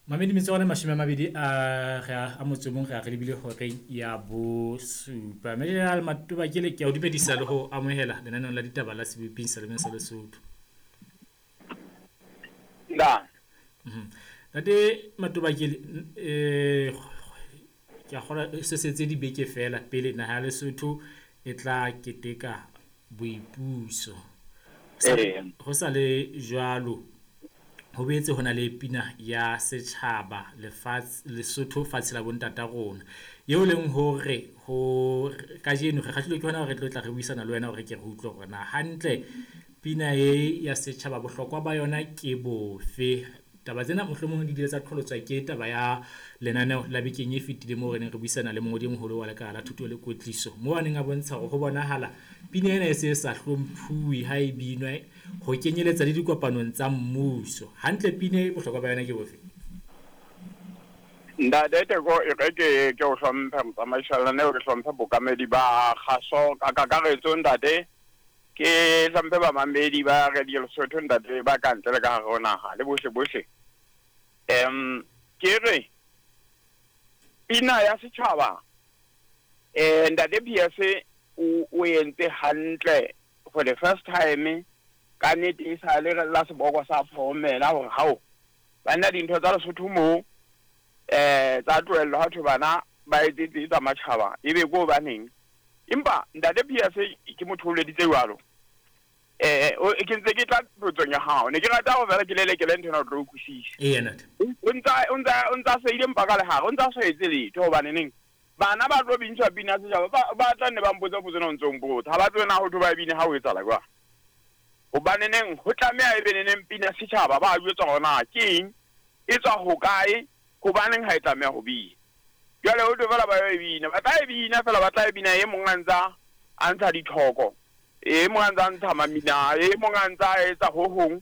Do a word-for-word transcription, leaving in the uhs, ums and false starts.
Mamedi metso ona mashome a mabedi a re a motso mong re a re lebile horeng ya bosupa. Major Matobakele, ke a o dumedisa le ho amohela lenaneong la ditaba la Seboping sa Lemeng sa Lesotho. Nda. Ntate Matobakele, eh ke a kgolwa se setse dibeke fela pele naha ya Lesotho e tla keteka boipuso. Ho sa le jwalo, ho boetse ho na le pina ya setjhaba lefatshe Lesotho fatshe la bontata rona, eo leng hore ho kajeno re kgahlilwe ke hona hore re tlo tla re buisana le wena hore ke re utlwe hore na hantle pina e ya setjhaba bohlokwa ba yona ke bofe. Taba tsena mohlomong di ile tsa qholotswa ke taba ya lenaneo la bekeng e fetileng moo re neng re buisana le mongodi e moholo wa lekala la thuto le kwetliso, moo a neng a bontsha hore ho bonahala pina ena e se e sa hlomphuwe ha e binwa ho kenyeletsa le dikopanong tsa mmuso. Hantle pina e bohlokwa ba yona ke bofe? Ntate Teko, e re ke ke o hlomphe motsamaisi wa lenaneo, ke hlomphe bokamedi ba kgaso ka kakaretso ntate, ke hlomphe bamamedi ba Radio Lesotho ntate ba ka ntle le ka hare ho naha le bohle bohle. Em ke re pina ya setjhaba eh ntate P S o o entse hantle for the first time ka nnete e sa le la seboko sa phomela hore hao banna dintho tsa Lesotho moo eh tsa tlohellwa ha thwe bana ba etsetse tsa matjhaba ebe ko hobaneng. Empa ntate P S ke motho o leditse jwalo. Eh o ke ntse ke tla potsong ya hao, ne ke rata hore fela ke lelekele ntho ena o tlo utlwisisa. Eya ntate. O ntsa o ntsa o ntsa seile mpa ka lehare, o ntsa sa etse letho hobane neng bana ba tlo bintshwa pina setjhaba ba ba tla nne ba mpotsa potso ena o ntso mpotsa, ha ba tsebe na ho thwe ba e bine ha ho etsahala jwang. Hobane neng ho tlameha e be neneng pina setjhaba ba jwetswa hore na ke eng, e tswa hokae, hobaneng ha e tlameha ho bina. Jwale ho thwe fela ba yo e bina, ba tla e bina fela, ba tla e bina e mong a ntsa a ntsha dithoko, e mong a ntsa ntsha mamina, e mong a ntsa etsa ho hong.